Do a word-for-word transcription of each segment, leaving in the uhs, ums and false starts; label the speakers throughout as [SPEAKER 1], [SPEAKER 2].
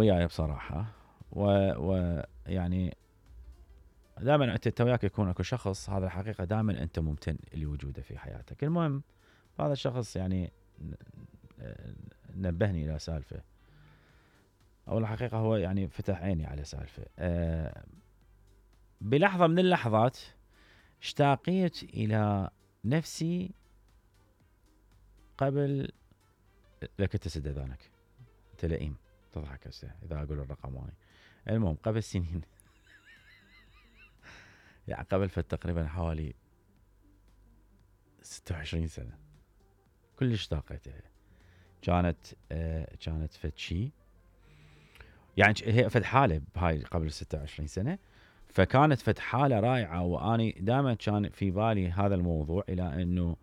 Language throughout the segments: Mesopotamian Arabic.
[SPEAKER 1] وياي بصراحه، ويعني دائما انت وياك يكون اكو شخص، هذا الحقيقه دائما انت ممتن لوجوده في حياتك. المهم هذا الشخص يعني نبهني الى سالفه، او الحقيقه هو يعني فتح عيني على سالفه. أه بلحظه من اللحظات اشتاقيت الى نفسي قبل، لك تسد اذانك انت لئيم تضحك هسه اذا اقول الرقم هاي. المهم قبل سنين يعني قبل فتقريبا حوالي ستة وعشرين سنه كلش اشتاقيت لها. كانت آه كانت فد شي يعني هي فد حاله بهاي قبل ستة وعشرين سنه، فكانت فد حاله رائعه. واني دائما كان في بالي هذا الموضوع الى انه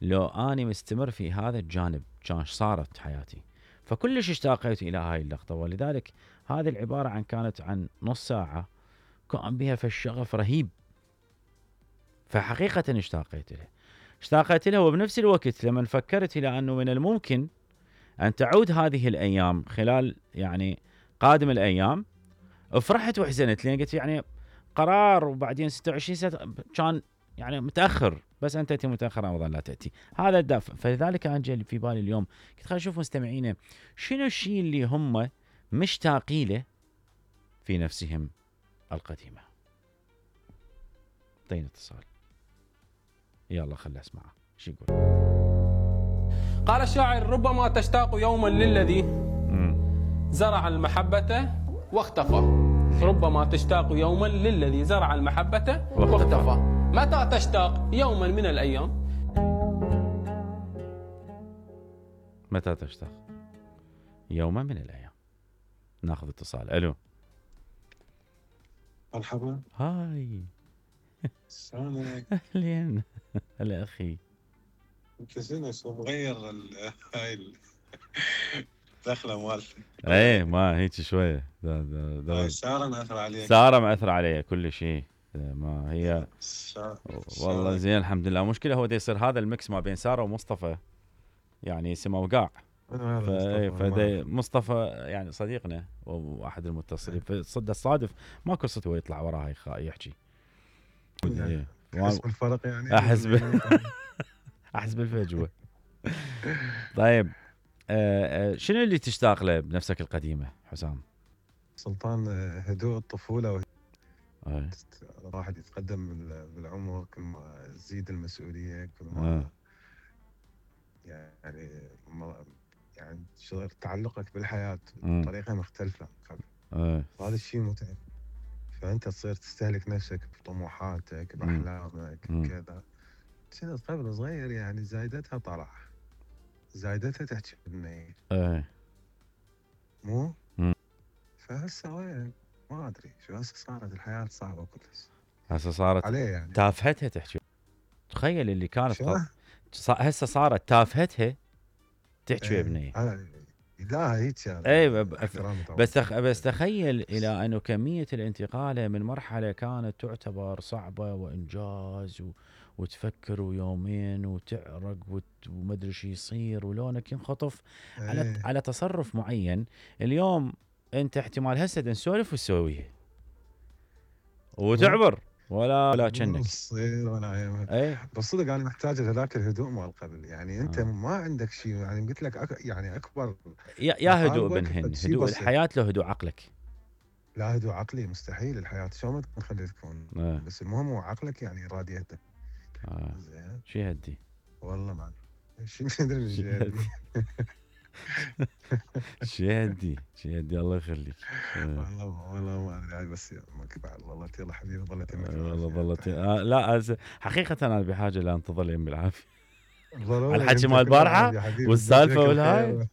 [SPEAKER 1] لو اني مستمر في هذا الجانب كان صارت حياتي. فكلش اشتاقيت الى هاي اللقطه، ولذلك هذه العباره عن كانت عن نص ساعه كان بها فالشغف رهيب. فحقيقه اشتاقيت لها اشتاقيت لها وبنفس الوقت لما فكرت الى انه من الممكن ان تعود هذه الايام خلال يعني قادم الايام، فرحت وحزنت، لان قلت يعني قرار وبعدين ستة وعشرين سنه كان يعني متاخر، بس انت تاتي متاخر رمضان لا تاتي. هذا الدافع. فلذلك انا جاي في بالي اليوم قلت خلينا نشوف مستمعينا شنو الشيء اللي هم مشتاقين له في نفسهم القديمه. اعطينا اتصال يلا خلنا اسمعه شو يقول.
[SPEAKER 2] قال الشاعر: ربما تشتاق يوما للذي زرع المحبة واختفى. ربما تشتاق يوما للذي زرع المحبة واختفى. متى تشتاق يوما من الأيام؟
[SPEAKER 1] متى تشتاق يوما من الأيام. ناخذ اتصال. ألو
[SPEAKER 3] مرحبا.
[SPEAKER 1] هاي
[SPEAKER 3] شلونك؟
[SPEAKER 1] أهلين هلا أخي.
[SPEAKER 3] انت شنو شو مغير هاي الدخله مالتك؟
[SPEAKER 1] ايه ما هيك شويه دا دا دا
[SPEAKER 3] سارة مأثر عليك.
[SPEAKER 1] سارة مأثر علي كل شيء. ما هي والله زين الحمد لله. مشكلة هو دا يصير هذا الميكس ما بين سارة ومصطفى يعني سما وقاع. فدا مصطفى يعني صديقنا واحد المتصلين، فصد الصادف ما قصته هو يطلع وراها يحكي.
[SPEAKER 3] يعني احس بالفرق يعني
[SPEAKER 1] احس احس بالفجوة. طيب أه أه شنو اللي تشتاق له بنفسك القديمة حسام؟
[SPEAKER 3] سلطان هدوء الطفولة.
[SPEAKER 1] أه.
[SPEAKER 3] الواحد يتقدم بالعمر كل ما تزيد المسؤولية كل ما
[SPEAKER 1] أه.
[SPEAKER 3] يعني يعني شغل تعلقك بالحياة بطريقة مختلفة قبل.
[SPEAKER 1] أه.
[SPEAKER 3] هذا الشيء متعب. فأنت تصير تستهلك نفسك بطموحاتك بأحلامك كذا. كنت قبل صغير يعني زايدتها طلع زايدتها تحكي بالنيل.
[SPEAKER 1] ايه
[SPEAKER 3] مو؟ فهسه وين؟ ما ادري شو هسه صارت الحياه صعبه كلش.
[SPEAKER 1] هسه صارت
[SPEAKER 3] عليه يعني
[SPEAKER 1] تافهتها تحكي. تخيل اللي كانت قط... هسه صارت تافهتها تحكي يا بنيه.
[SPEAKER 3] لا هيك يعني.
[SPEAKER 1] اي بس تخ... بس تخيل الى انه كميه الانتقال من مرحله كانت تعتبر صعبه وانجاز و... وتفكر ويومين وتعرق وت... ومدري شو يصير ولونك ينخطف على
[SPEAKER 3] ايه.
[SPEAKER 1] على تصرف معين. اليوم انت احتمال هسه نسولف وتسويها وتعبر ولا ولا كأنك
[SPEAKER 3] تصير ولا اي. بس صدق انا محتاج هذاك الهدوء مال قبل يعني. انت آه. ما عندك شيء يعني قلت لك أك... يعني اكبر
[SPEAKER 1] يا, يا هدوء بنهن هدوء الحياه له هدوء عقلك.
[SPEAKER 3] لا هدوء عقلي مستحيل. الحياه شو ما تخلي تكون آه. بس المهم هو عقلك يعني راديتك.
[SPEAKER 1] اه زين شو يهدي
[SPEAKER 3] والله ما شو ادري شو يهدي.
[SPEAKER 1] شو يهدي شو يهدي الله يخليك.
[SPEAKER 3] والله والله ما ادري بس ما كبر والله يلا حبيبي ظلت
[SPEAKER 1] والله ظلت آه لا حقيقه انا بحاجه لان تظل يمي العافيه على الحكي مال البارحه والسالفه والهاي.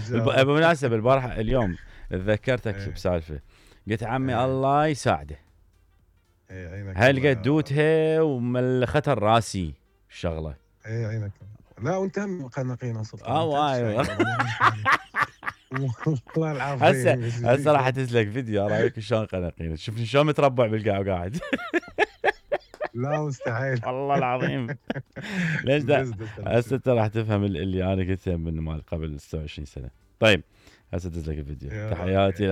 [SPEAKER 1] بالمناسبه البارحه اليوم تذكرتك بسالفه قلت عمي الله يساعده هل قد دوتها وملختها راسي الشغله.
[SPEAKER 3] اي عينك. لا وانت هم قنقينا صدق.
[SPEAKER 1] اه ايوه
[SPEAKER 3] والله العافيه.
[SPEAKER 1] هسه هسه راح تسلك فيديو رايك شلون قنقينا. شوفني شلون متربع بالقاع وقاعد.
[SPEAKER 3] لا مستحيل
[SPEAKER 1] والله العظيم. ليش ده هسه انت راح تفهم اللي انا قلته من مال قبل ستة وعشرين سنه. طيب هسه تسلك الفيديو. تحياتي.